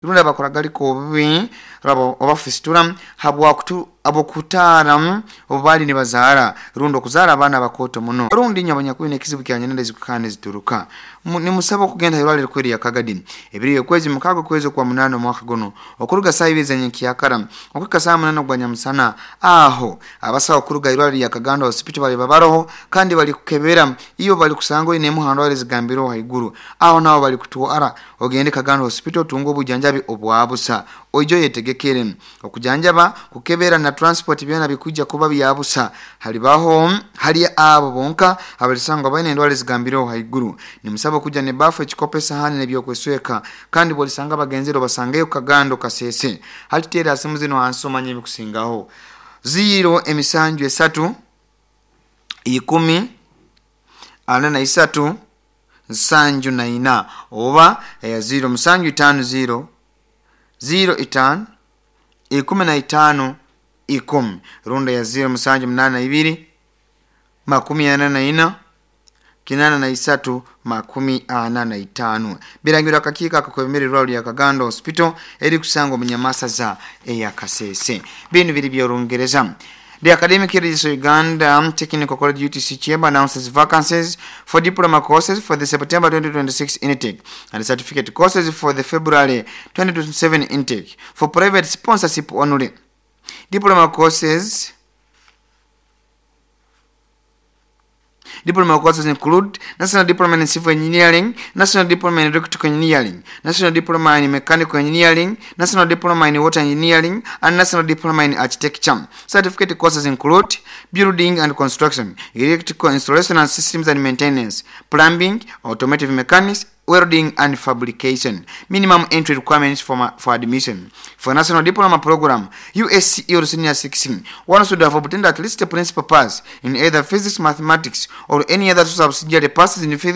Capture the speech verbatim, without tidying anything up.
Rundi abakuragalika obubi oba fistula habwokutaara obu baali nibazaara rundi okuzaara abaana abakooto muno, rundi inywe abanyakwine ekizibu kya nyinenda ezikukaana nezituruka, nimusaba okugenda hairwarro erikuru erya Kagadi ebiro eby'okwezi mukaaga okwezi okwa munaana omwaka gunu okuruga saaha ibiri ez'enyenkyakara okuhika saaha munaana ogwa nyamusana. Aho abasaho okuruga hairwarro erya Kagando Hospital baliba baroho kandi bali kukebera iwe bali kusanga oine emu ha ndwara ezigambireho haiguru, aho naho bali kutwara ogende Kagando Hospital otunge obujanjabi obwa busa. Oije oyetegekere okujanjaba, kukebera na transport byona bikwijja kuba bya busa halibaho hali abo bonka abalisangwa baine endwara ezigambireho haiguru. Nimusaba okujja n'ebaafu, ekikopo, esahani n'ebyokwesweka, kandi bwolisanga bagenzere obasangeyo Kagando Kasese. Hati teera simu zinu hansi omanye ebikusingaho: ziro emisanju esatu ikumi ana na isatu nsanju na ina oba ziro musanju itaano ziro ziro itaano ikumi na itaano ikumi, rundi eya ziro musanju munaana ibiri makumi ana na ina kinaana na isatu makumi ana na itaano. Birangirwa akakiiko akakwebembera irwarro lya Kagando Hospital erikusangwa omu Nyamasaza eya Kasese. Binu biri by'Orungereza. The Academic Registry Uganda Technical College U T C Chamber announces vacancies for diploma courses for the September twenty twenty-six intake and certificate courses for the February twenty twenty-seven intake for private sponsorship only. Diploma courses Diploma courses include National Diploma in Civil Engineering, National Diploma in Electrical Engineering, National Diploma in Mechanical Engineering, National Diploma in Water Engineering, and National Diploma in Architecture. Certificate courses include Building and Construction, Electrical Installation and Systems and Maintenance, Plumbing, Automotive Mechanics, Welding and Fabrication. Minimum entry requirements for, for admission. For National Diploma Program, U S C E or Senior six, one should have obtained at least a principal pass in either physics, mathematics, or any other subsidiary passes in physics.